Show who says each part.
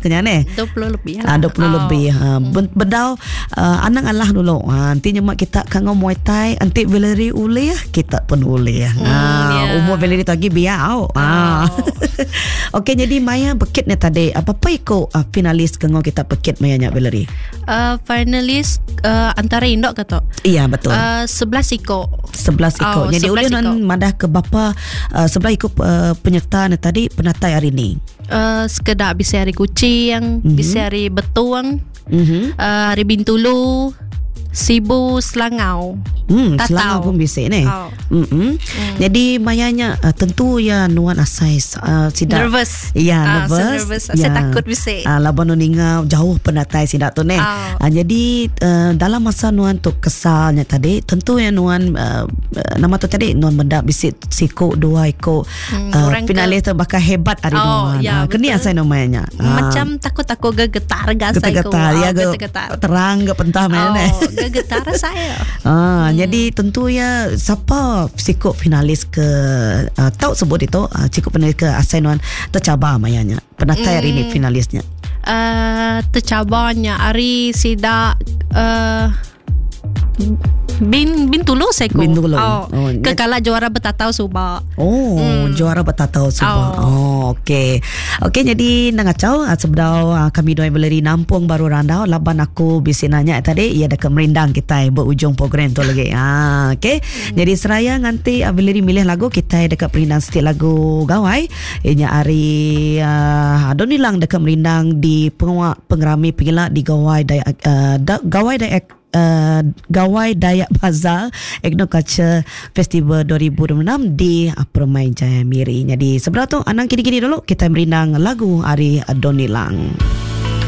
Speaker 1: kenya neh.
Speaker 2: 20 lebih
Speaker 1: lah. 20 oh. lebih. Ha bedau uh, anang alah dulu. Ha enti nyema kita ka ngau Muay Thai, enti Valerie ulih, kita pun ulih. Ha yeah. umur Valerie tu agi biak au. Ha. Oh. Okey jadi maya pekit ni tadi, apa-apa iko uh, finalis ke ngau kita pekit maya nya Valerie?
Speaker 2: Finalis antara indok ke tu?
Speaker 1: Iya betul.
Speaker 2: 11 iko.
Speaker 1: 11 iko. Oh, jadi ulih nan madah ke bapa 11 iko penyerta ni tadi penatai hari ni.
Speaker 2: Sekeda bisi ari Kuching, bisi ari Betong, ari Bintulu, Sibu, Selangau.
Speaker 1: Tatau. Selangau pun bisi ni. Oh. Jadi maya nya tentu ya nuan asai sida
Speaker 2: nervous.
Speaker 1: Ya, nervous.
Speaker 2: So nervous. Saya takut bisi.
Speaker 1: Laban nuan ninga jauh penatai sida tu neh. Oh. Jadi dalam masa nuan tu kesal nya tadi tentu ya nuan nama tu tadi nuan meda bisi siku dua iku finalis tu bakal hebat ari oh, nuan. Ya, keni asai nama nya.
Speaker 2: Macam takut aku gegetar ga
Speaker 1: asai ku. Getar, ya, getar. Terang ga pentah oh,
Speaker 2: ne. Gegetar saya.
Speaker 1: Jadi tentu ya siapa siku finalis ke tau sebut itu siku finalis ke asai nuan tercabar maya nya. Penatai hari ni finalisnya.
Speaker 2: Tercabarnya ari sida Bin Bintulu saya ko.
Speaker 1: Bintulu.
Speaker 2: Oh, oh ke kala juara betatau suba.
Speaker 1: Oh, juara betatau suba. Oh, oh okey. Okey jadi nang ngacau ah, sebedau ah, kami dua Valerie nampung baru randau laban aku bisi nanya tadi ia deka merindang kita berujung program tu lagi. Ah, okey. Jadi seraya nganti ah, Valerie milih lagu kita deka perindang setiap lagu gawai inya ari uh, Adon Nilang deka merindang di pengawa pengerami pengila di Gawai Dayak uh, da, Gawai Dayak uh, Gawai Dayak Bazaar Ethno Culture Festival 2026 di Permai Jaya Miri. Jadi sebelah tu anang kini-kini dulu kita merindang lagu ari Donny Lang.